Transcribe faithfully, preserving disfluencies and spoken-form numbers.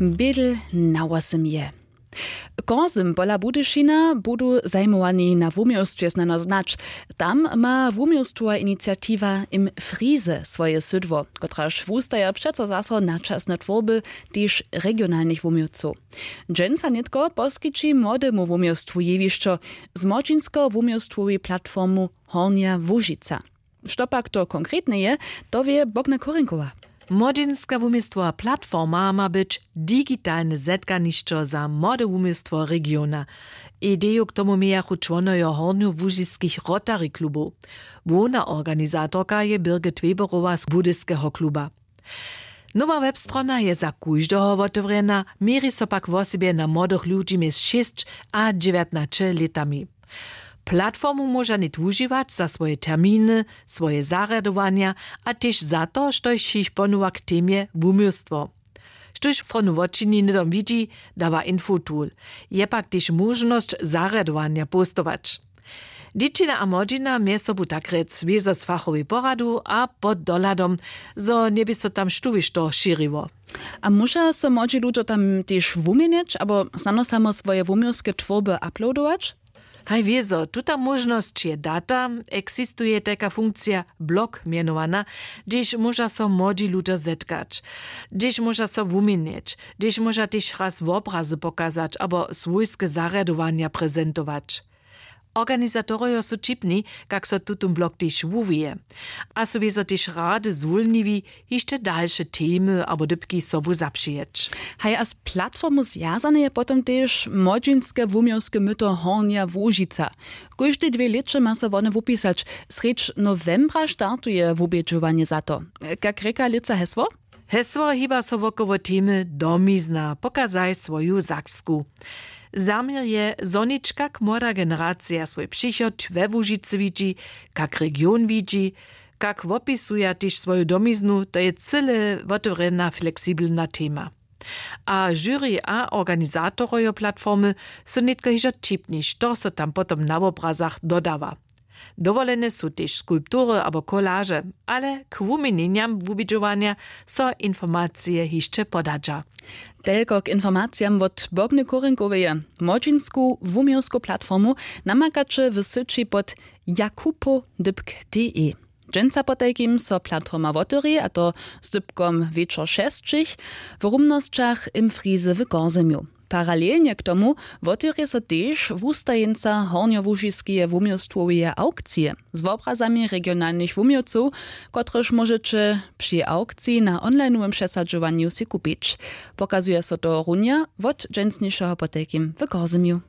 Bědl na wosym je. Korzym pola Budyšina budu zajimowani na wuměłstwje snano znać. Tam ma wuměłstwowa iniciatiwa Im Frize swoje sydło, kotraž wustaja přeco zaso na časne twórby tež regionalnych wuměłcow. Dźensa nětko poskići młodemu wuměłstwu jewišćo z młodźinskeho wuměłstwowej platformu Hornja Łužica. Što pak to konkretne je, to wě Bogna Korinkowa. Młodźinska wuměstwowa platforma ma być digitalne zetkanišćo za młode wuměstwo regiona. Ideju k tomu mějachu čłonojo hornjołužiskich Rotary klubow. Hłowna organizatorka je Birgit Weberowa z Budyskeho kluba. Nowa webstrona je za kóždeho wotewrjena, měri so pak wosebje na młodych ludźi mjez šěsć a dźewjatnaće lětami. Platformu móža nět wužiwać za swoje terminy, swoje zarjadowanja a tež za to, štož jich ponowa k temje wuměłstwo. Štóž stronu wočini hnydom widźi, dawa infotool. Je pak tež móžnosć zarjadowanja postować. Dźěćina a młodźina mjez sobu tak rjec wězo z fachowej poradu a pod dohladom, zo njeby so tam štówěšto šěriło. A móža so młodźi ludźo tam tež wuměnjeć abo snano samo swoje wuměłske twórby uploadować? Haj wězo, tuta móžnosć je data. Eksistuje tajka funkcija blog mjenowana, hdźež móža so młodźi ludźo zetkać, hdźež móža so wuměnjeć, hdźež móža tež raz wobrazy pokazać abo swójske zarjadowanja prezentować. Organizatorojo su ćipni, kak so tutón blog tež wuwije, a su wězo tež rady zwólniwi, hišće dalše temy abo dypki sobu zapřijeć. Haj a z platformu zwjazane je potom tež młodźinske wuměłske myto Hornja Łužica. Kóžde dwě lěće ma so wone wupisać. Srjedź nowembra startuje wubědźowanje za to. Kak rěka lětsa hesło? Hesło hiba so wokoło temy Domizna, pokazaj swoju Saksku. Zaměr je, zo něč kak młoda generacija swój přichod we Łužicy widźi, kak region widźi, kak wopisuja tež swoju domiznu. To je cyle wotewrjena fleksibelna tema. A žury a organizatorojo platformy su nětko hižo ćipni, što so tam potom na wobrazach dodawa. Dowolene su tež skulptury abo kolaže, ale k wuměnjenjam wubědźowanja so informacije hišće podadźa. Telko k informacijam wot Bogny Kórinkoweje. Młodźinsku wuměłsku platformu namakaće w syći pod jakupo dypk d e. Dźensa potajkim so platforma wotewri, a to z dypkom wječor šesćich, w rumnosćach Im Frize w Korzymju. Paralelnje k tomu wotewrje so tež wustajeńca hornjołužiskeje wuměłstwoweje awkcije z wobrazami regionalnych wuměłcow, kotrež móžeće při awkciji na onlinowym přesadźowanju sej kupić. Pokazuje so to runja wot dźensnišeho potajkim w Korzymju.